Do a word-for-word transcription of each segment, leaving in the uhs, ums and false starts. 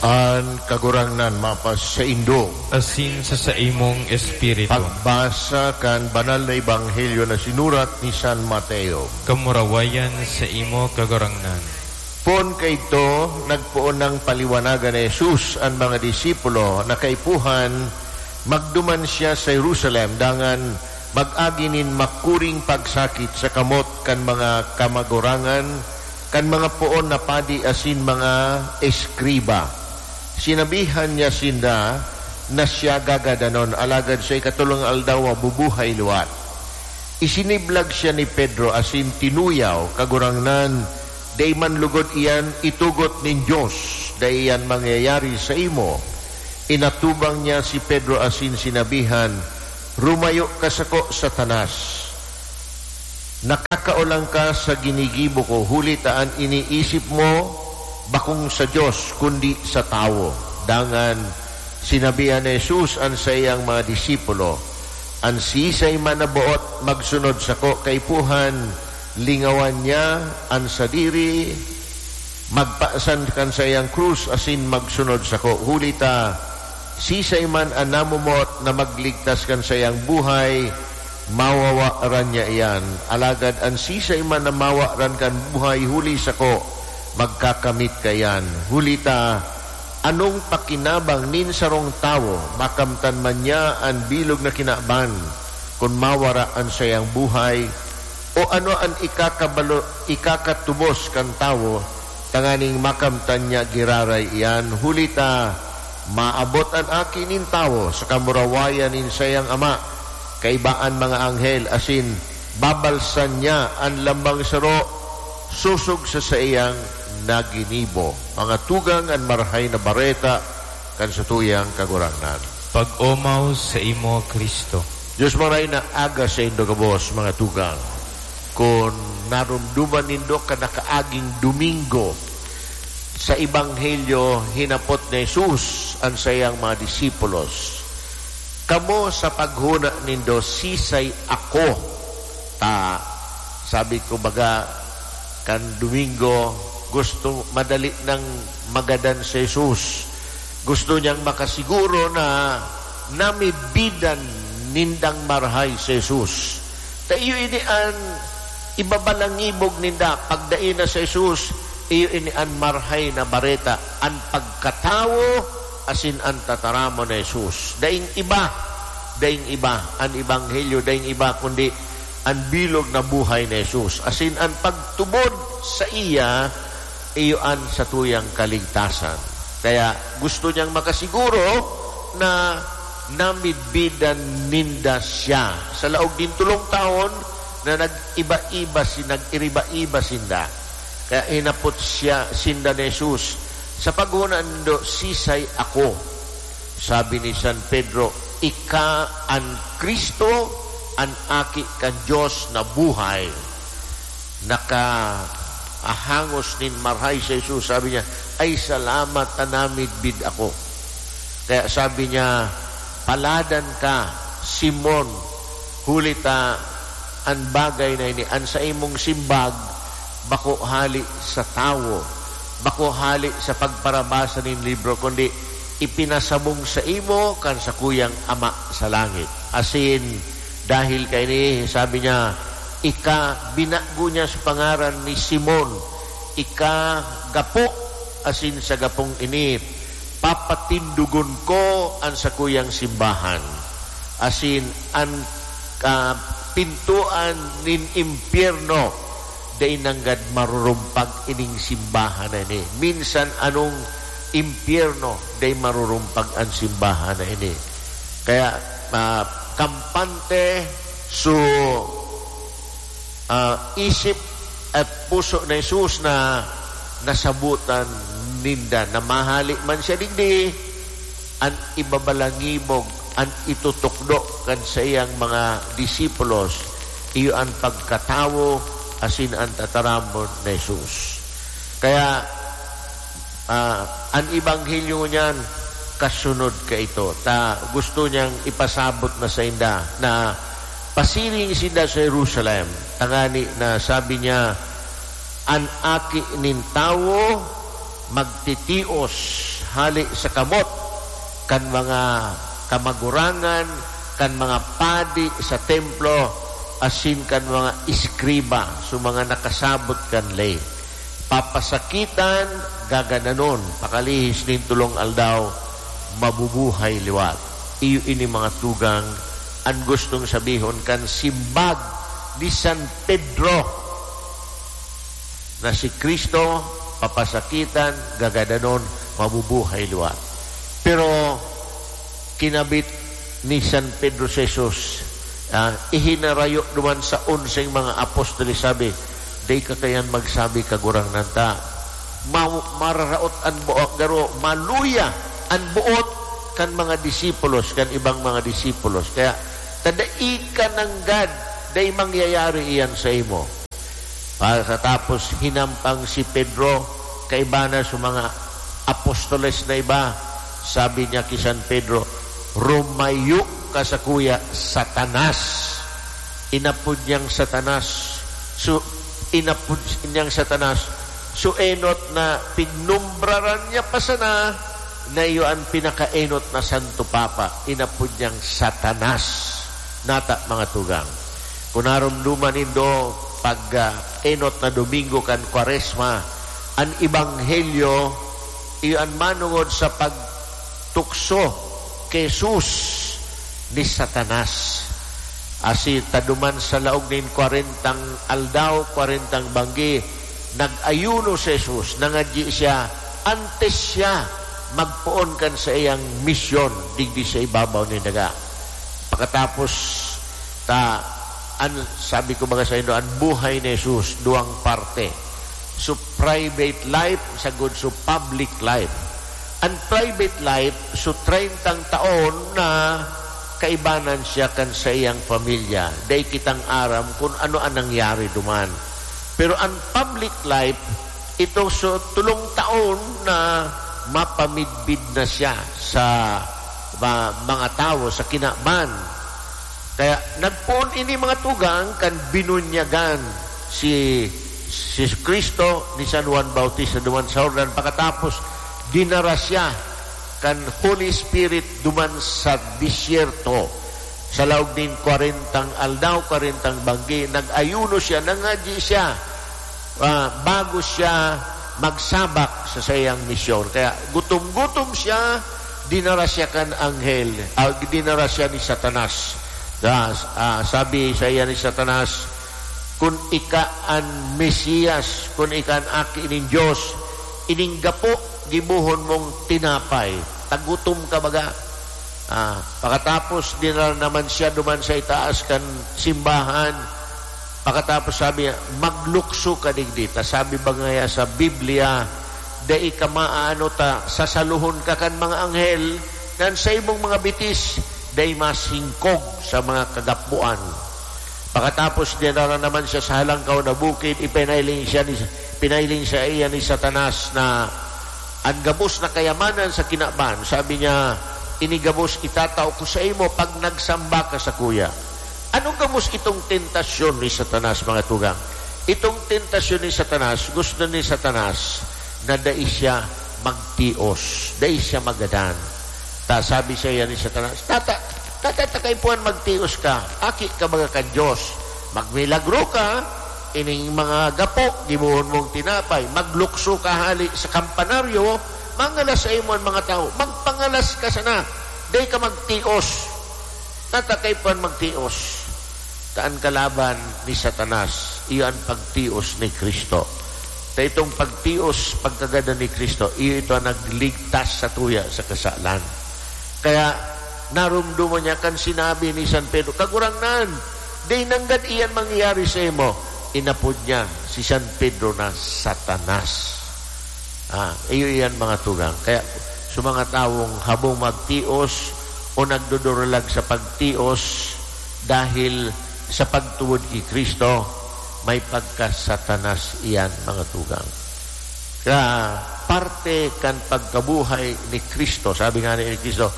An Kagurangnan mapasaindo. Asin sa saimong espiritu. Pagbasa kan Banal na Ebanghelyo na sinurat ni San Mateo. Kamurawayan sa imo, Kagurangnan. Poon kaidto, nagpoon nang paliwanagan ni Jesus an mga disipulo na kaipuhan magduman siya sa Jerusalem dangan mag-agi nin makuring pagsakit sa kamot kan mga kamagurangan, kan mga poon na padi asin mga eskriba. Sinabihan niya sinda na siya gagadanon, alagad sa ikatolong aldaw mabubuhay liwat. Isiniblag siya ni Pedro asin tinuyaw, "Kagurangnan, dai man lugod iyan itugot nin Dios, dai iyan mangyayari saimo." Inatubang niya si Pedro asin sinabihan, "Rumayo ka sako, Satanas! Nakakaolang ka sa ginigibo ko, huli ta an iniisip mo bakong sa Dios, kundi sa tawo." Dangan sinabihan ni Jesus an saiyang mga disipulo, "An siisay man na boot magsunod sako kaipuhan, lingawan niya an sadiri, magpasan kan saiyang krus asin magsunod sako. Huli ta, siisay man an namumot na magligtas kan saiyang buhay, mawawaran niya iyan. Alagad an siisay man na mawaran kan buhay huli sako, magkakamit kaiyan. Huli ta, anong pakinabang nin sarong tawo, makamtan man niya an bilog na kinaban, kun mawara an saiyang buhay? O ano an ikakabalo-, ikakatubos kan tawo, tanganing makamtan niya giraray iyan? Huli ta, maabot an Aki nin Tawo sa kamurawayan nin saiyang Ama, kaiba an mga anghel, asin babalsan niya an lambang saro sosog sa saiyang naginibo. Mga tugang, an Marahay na Bareta kan satuyang Kagurangnan. Pag-omaw sa imo, Cristo. Dios Marahay na Aga saindo gabos, mga tugang. Kun naromdoman nindo kan nakaaging Domingo, sa Ebanghelyo, hinapot ni Jesus an saiyang mga disipulos, "Kamo, sa paghona nindo, sisay ako?" Ta, sabi ko, baga, kan Domingo, gusto, madali nang magadan si Jesus. Gusto niyang makasiguro na namidbidan nindang marahay si Jesus. Ta iyo ini an ibabalangibog ninda. Pagdai na si Jesus, iyo ini an Marahay na Bareta, an pagkatawo asin an tataramon ni Jesus. Daing iba, daing iba an ebanghelyo, daing iba kundi an bilog na buhay ni Jesus, asin an pagtubod saiya, iyo an satuyang kaligtasan. Kaya gusto niyang makasiguro na namidbidan ninda siya. Sa laog nin tolong taon na nag-iba-iba si-, nag-iriba-iba sinda. Kaya hinapot siya, sinda ni Jesus, "Sa paghona nindo, sisay ako?" Sabi ni San Pedro, "Ika an Cristo, an Aki kan Dios na buhay." Nakaahangos nin marahay si Jesus. Sabi niya, "Ay, salamat ta namidbid ako." Kaya sabi niya, "Paladan ka, Simon, huli ta an bagay na ini, an saimong simbag, bako hale sa tawo, bako hale sa pagparabasa nin libro, kundi ipinasabong saimo kan sakuyang Ama sa langit." Asin, dahil kaini, sabi niya, "Ika," binago niya sa pangaran ni Simon, "ika gapo, asin sa gapong ini, papatindogon ko an sakuyang simbahan, asin an kapintoan nin impyerno dai nanggad marurumpag ining simbahan na ini." Minsan anong impyerno, dai marurumpag an simbahan na ini. Kaya, ah, kampante so, ah, isip at puso ni Jesus na nasabotan ninda na mahale man siya digdi, an ibabalangibog, an itutukdo kan saiyang mga disipulos, iyo an pagkatawo asin an tataramon ni Jesus. Kaya, ah, an ebanghelyo niyan kasunod kaito, ta gusto niyang ipasabot na sainda na pasiring sinda sa Jerusalem, tangani na sabi niya, "An Aki nin Tawo magtitios hale sa kamot kan mga kamagurangan, kan mga padi sa templo, asin kan mga eskriba, so mga nakasabot kan ley. Papasakitan, gagadanon, pakalihis nin tolong aldaw, mabubuhay liwat. Iyo ini, mga tugang, an gustong sabihon kan simbag ni San Pedro, na si Cristo papasakitan, gagadanon, mabubuhay liwat. Pero kinabit ni San Pedro si Jesus, ah, ihinarayo duman sa onseng mga apostoles, sabi, "Dai ka kaiyan magsabi, Kagurangnan, ta ma-, mararaot an buot, garo, maluya an buot kan mga disipulos, kan ibang mga disipulos. Kaya, ta dai ka nanggad, dai mangyayari iyan saimo." Pagkatapos, hinampang si Pedro, kaiba na sa mga apostoles na iba. Sabi niya ki San Pedro, "Rumayo ka sakuya, Satanas." Inapod niyang Satanas. So, inapod niyang Satanas. So, enot na pignumbraran niya pa sana na iyo an pinakaenot na Santo Papa. Inapod niyang Satanas. Nata, mga tugang. Kung narumduman nindo, pag, ah, enot na Domingo kan Kwaresma, an ebanghelyo, iyo an manongod sa pagtukso ki Jesus ni Satanas. Asin ta duman sa laog nin kwarentang aldaw, kwarentang banggi, nag-ayuno si Jesus, nangadyi siya, antes siya magpoon kan saiyang misyon digdi sa ibabaw nin daga. Pakatapos ta, an, sabi ko baga saindo, an buhay ni Jesus, duwang parte. So, private life, sagkod so public life. An private life, so, treyntang taon na kaibanan siya kan saiyang pamilya. Dai kitang aram kun ano an nangyari duman. Pero an public life, ito, so, tolong taon na mapamidbid na siya sa ma-, mga tawo, sa kinaban. Kaya nagpoon ini, mga tugang, kan binunyagan si, si Cristo ni San Juan Bautista duman sa Jordan. Pakatapos, dinara siya kan Holy Spirit duman sa disyerto. Sa laog nin kwarentang aldaw, kwarentang banggi, nag-ayuno siya, nangadyi siya, ah, bago siya magsabak sa saiyang misyon. Kaya gutom-gutom siya, dinara siya kan anghel, ah, dinara siya ni Satanas. Sa, ah, sabi saiya ni Satanas, "Kun ika an Mesiyas, kun ika an Aki nin Dios, ining gapo, gibohon mong tinapay." Tagutom ka baga. Ah, pakatapos, dinara naman siya duman sa itaas kan simbahan. Pakatapos sabi niya, "Maglukso ka digdi, ta sabi ba ngaya sa Biblia, 'Dai ka maaano, ta sasalohon ka kan mga anghel, na an saimong mga bitis dai masingkog sa mga kagapoan.'" Pakatapos, dinara naman siya sa halangkaw na bukid, ipinailing siya ni, pinailing saiya ni Satanas na an gabos na kayamanan sa kinaban. Sabi niya, "Ini gabos itatao ko saimo pag nagsamba ka sakuya." Ano gabos itong tentasyon ni Satanas, mga tugang? Itong tentasyon ni Satanas, gusto ni Satanas na dai siya magtios, dai siya magadan. Ta sabi saiya ni Satanas, "Tata, tata, ta kaipuhan magtios ka, aki ka baga kan Dios. Magmilagro ka, ining mga gapo, gibohon mong tinapay, maglukso ka hali sa kampanaryo, mangalas saimo an mga tawo. Magpangalas ka sana, dai ka magtios. Tata, kaipuhan magtios." Ta an kalaban ni Satanas, iyo an pagtios ni Cristo. Ta itong pagtios, pagkagadan ni Cristo, iyo ito an nagligtas satuya sa kasalan. Kaya, narumduman niya kan sinabi ni San Pedro, "Kagurangnan, dai nanggad iyan mangyayari saimo." Inapod niya si San Pedro na Satanas. Ah, iyo iyan, mga tugang. Kaya, sa mga tawong habong magtios o nagduduralag sa pagtios dahil sa pagtubod ki Cristo, may pagka-Satanas iyan, mga tugang. Kaya, parte kan pagkabuhay ni Cristo, sabi nga ni Cristo,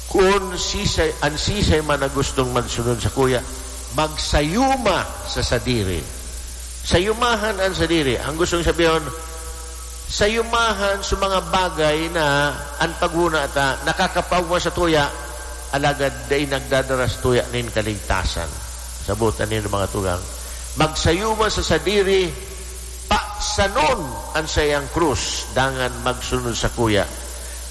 "Kun sisay, an sisay man na gustong magsunod sakuya, magsayuma sa sadiri." Sayumahan an sadiri. Ang gustong sabihon, Sayumahan sa mga bagay na an paghona ta nakakapaogma sa tuya, alagad dai nagdadara sa tuya nin kaligtasan. Sabotan nindo, mga tugang, magsayuma sa sadiri, pasanon an saiyang krus, dangan magsunod sakuya.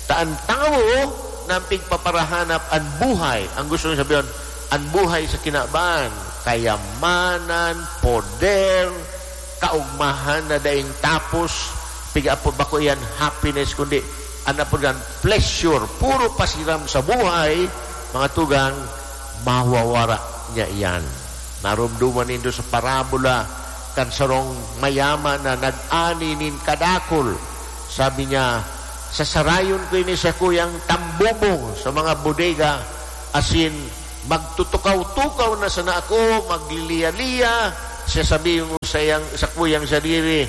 Ta an tawo na an pigpaparahanap an buhay, ang gusto niya sabihon, an buhay sa kinaban, kayamanan, poder, kaogmahan na daing tapos, piga apo bako iyan happiness, kundi an apo diyan, pleasure, puro pasiram sa buhay, mga tugang, mawawara niya iyan. Naromdoman nindo sa parabola kan sarong mayaman na nag-ani nin kadakul. Sabi niya, "Sasarayon ko ini sa kuyang tambubong sa mga bodega, asin magtutukaw-tukaw na sana ako, magliliya-liya." Siya sabi yung sa, iyang, sa kuyang sadiri,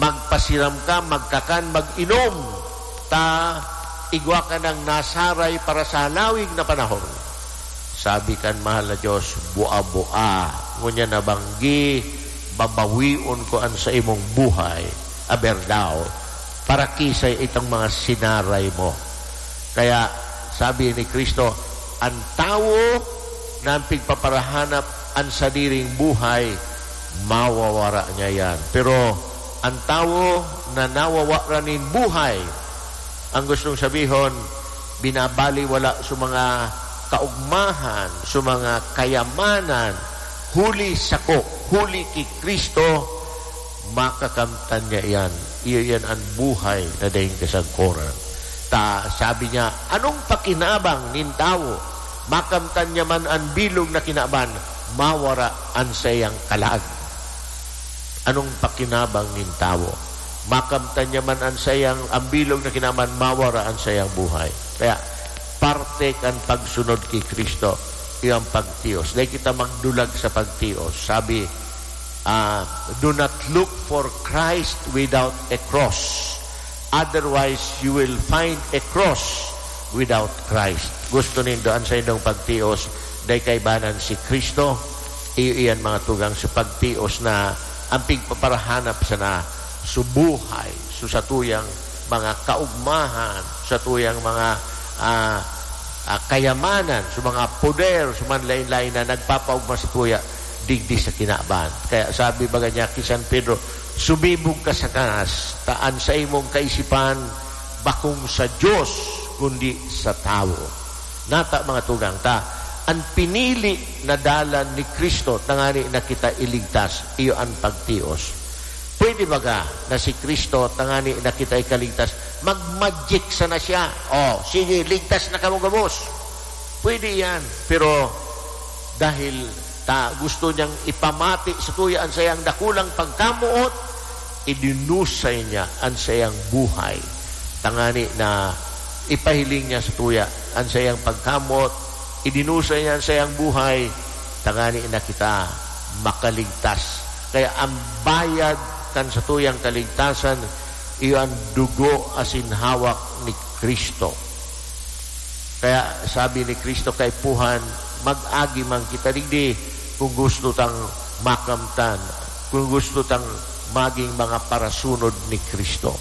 "Magpasiram ka, magkakan, mag-inom, ta igwa ka nang nasaray para sa halawig na panahon." Sabi kan mahal na Diyos, "Bua-bua, ngunyan na banggi, babawion ko an saimong buhay, aber daw, para kisay itong mga sinaray mo." Kaya sabi ni Kristo, "An tawo na an pigpaparahanap an sadiring buhay, mawawara niya yan. Pero an tawo na nawawara nin buhay," ang gustong sabihon, binabaliwala sa mga kaugmahan, sa mga kayamanan, huli sako, huli ki Kristo, makakamtan niya iyan. Iyo iyan an buhay na daing kasagkoran. Ta, sabi niya, "Anong pakinabang nin tawo? Makamtan niya man an bilog na kinaban, mawara an saiyang kalag." Anong pakinabang nin tawo? Makamtan niya man an saiyang, ang bilog na kinaban, mawara an saiyang buhay. Kaya, parte kan pagsunod ki Kristo, iyo an pagtios. Dai kita magdulag sa pagtios. Sabi, ah, "Do not look for Christ without a cross. Otherwise, you will find a cross without Christ." Gusto nindo an saindong pagtios, dai kaibanan si Kristo, iyo iyan, mga tugang, sa pagtios na an pigpaparahanap sana sa buhay, sa satuyang mga kaugmahan, satuyang mga, ah, ah, kayamanan, sa mga poder, sa mga lain-lain na nagpapaugma sa tuya digdi sa kinaban. Kaya sabi baga niya ki San Pedro, "Sumibog ka sa kanas, ta an saimong kaisipan bakong sa Dios, kundi sa tawo." Nata, mga tugang, ta an pinili na dalan ni Kristo tangani na kita iligtas, iyo an pagtios. Pwede baga na si Kristo tangani na kita ikaligtas, mag-magic sana siya? "Oh, sige, ligtas na kamo gabos." Pwede yan. Pero dahil ta gusto niyang ipamati sa tuya an sayang dakulang pagkamoot, idinusay niya an sayang buhay. Tangani na ipahiling niya sa tuya an sayang pagkamoot, idinusay niya an sayang buhay, tangani na kita makaligtas. Kaya ang bayad kan satuyang kaligtasan, iyo an dugo asin hawak ni Kristo. Kaya sabi ni Kristo kaipuhan, "Mag-agi man kita digdi kung gusto tang makamtan, kung gusto tang maging mga parasunod ni Kristo."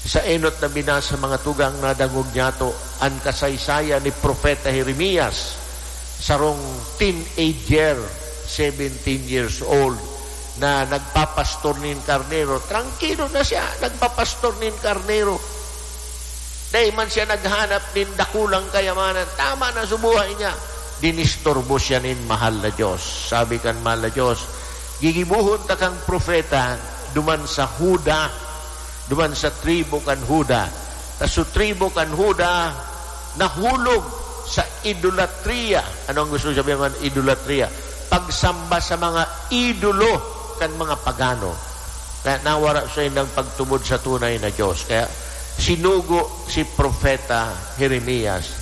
Sa enot na binasa, mga tugang, nadangog niyato an kasaysayan ni Propeta Jeremias, sarong teenager, seventeen years old, na nagpapastor nin karnero. Trangkilo na siya, nagpapastor nin karnero. Dai man siya naghanap nin dakulang kayamanan. Tama na sa buhay niya. Dinisturbo siya nin mahal na Diyos. Sabi kan mahal na Diyos, "Gigibohon ta kang propeta duman sa Juda, duman sa tribo kan Juda. Ta sa tribo kan Juda, nahulog sa idolatria." Ano ang gusto sabihin ng idolatria? Pagsamba sa mga idolo kan mga pagano. Kaya nawara saindang pagtubod sa tunay na Diyos. Kaya sinugo si Propeta Jeremias.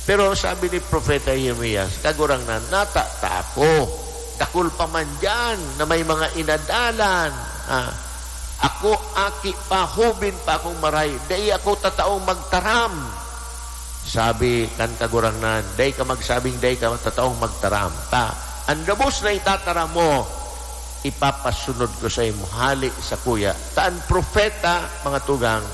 Pero sabi ni Propeta Jeremias, "Kagurangnan, nata ta ako. Dakul pa man diyan na may mga inadalan. Ah, ako, aki pa, hubin pa akong maray. Dai ako tataong magtaram." Sabi kan Kagurangnan, "Dai ka magsabing dai ka tataong magtaram. Ta, an gabos na itataram mo, Ipapasunod ko saimo hale sakuya. Ta an propeta, mga tugang,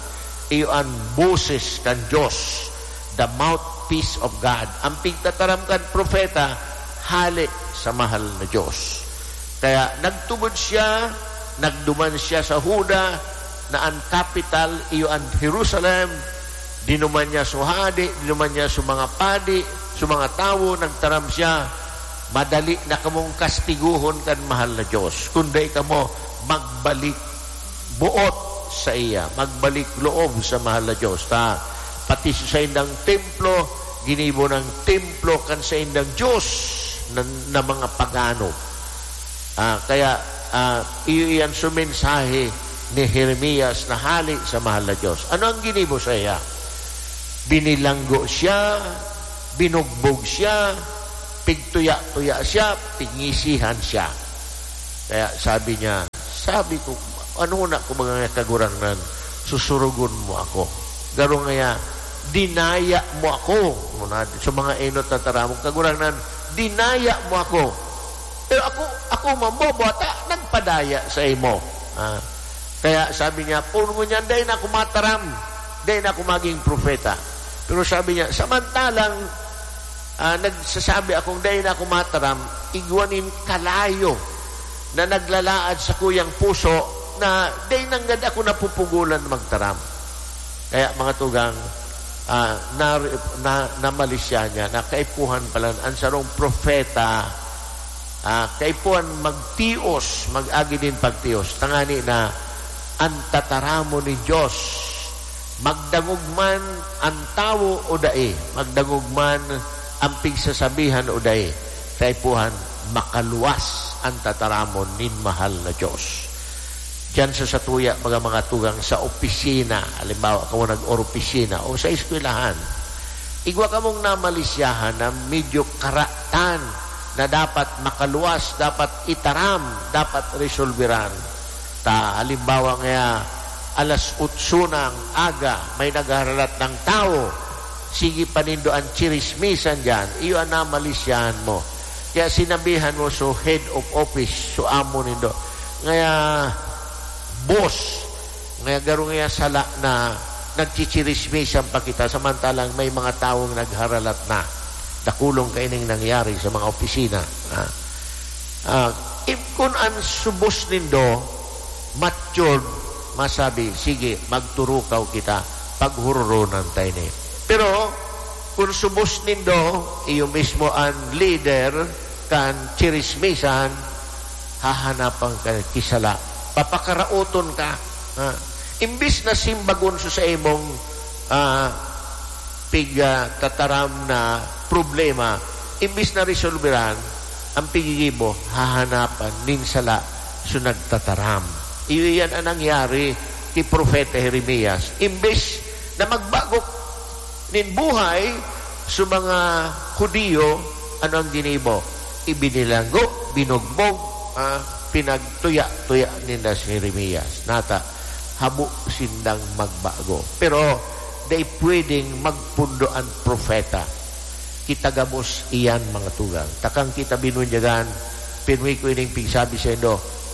iyo an boses kan Dios, the mouthpiece of God. An pigtataram kan propeta, hale sa mahal na Dios. Kaya nagtubod siya, nagduman siya sa Juda, na an kapital iyo an Jerusalem. Dinuman niya so hade, dinuman niya so mga padi, so mga tawo, nagtaram siya, "Madali na kamong kastigohon kan mahal na Dios, kun dai kamo magbalik buot saiya, magbalik loob sa mahal na Dios." Ta, pati sa saindang templo, ginibo niyang templo kan saindang dios na, na mga pagano. Ah, kaya, ah, iyo iyan so mensahe ni Jeremias na hale sa mahal na Dios. Ano ang ginibo saiya? Binilanggo siya, binugbog siya, pigtuya-tuya siya, pigngisihan siya. Kaya sabi niya, "Sabi ko, ano na ko, mga Kagurangnan, susurugon mo ako. Garo ngaya, dinaya mo ako." Muna, sa mga enot na taramong, "Kagurangnan, dinaya mo ako. Pero ako, ako mambo, buwata, nagpadaya saimo." Ah, kaya sabi niya, "Poon ngunyan, dai na ako mataram, dai na ako maging propeta." Pero sabi niya, "Samantalang, ah, nagsasabi akong dai na ako mataram, igwa nin kalayo na naglalaad sa kuyang puso na dai nanggad ako napupugolan magtaram." Kaya, mga tugang, ah, na, na, namalisya niya na kaipuhan pala an sarong propeta, ah, kaipuhan magtios, mag-agi nin pagtios, tangani na an tataramon nin Dios, magdangog man an tawo o dai, magdangog man an pigsasabihan o dai, kaipuhan makaluwas an tataramon nin mahal na Dios. Diyan sa satuya, mga, mga tugang sa opisina, halimbawa, kamo nag-oropisina o sa eskwelahan, igwa kamong namalisyahan na medyo karatan na dapat makaluwas, dapat itaram, dapat resolveran. Ta, halimbawa ngaya, alas otso ng aga, may nagharalat ng tawo, sige pa nindo an chirismisan diyan, iyo an namalisyahan mo. Kaya sinabihan mo so head of office, so amo nindo. Ngaya, boss, ngaya garo ngaya sala na nagchichirismisan pa kita, samantalang may mga tawong nagharalat na. Dakulong kaining nangyari sa mga opisina, ha? Ah, if kun an subos nindo, matured, masabi, "Sige, magturukaw kita, paghuroronan ta ini." Pero, kun subos nindo, iyo mismo an leader kan chirismisan, hahanapan ka ki sala. Papakaraoton ka, ha? Imbis na simbagon sa, sa imong, ah, pig, ah, tataram na problema, imbis na resolveran, ang pigigibo, hahanapan nin sala so nagtataram. Iyo iyan ang nangyari ki Propeta Jeremias. Imbis na magbago nin buhay so mga Judio, ano ang ginibo? Ibinilanggo, binugbog, ah, pinagtuya-tuya ninda si Jeremias. Nata, habo sindang magbago. Pero dai pwedeng magpundo an propeta. Kita gabos iyan, mga tugang. Takang kita binunyagan, pirmi ko ining pigsabi saindo,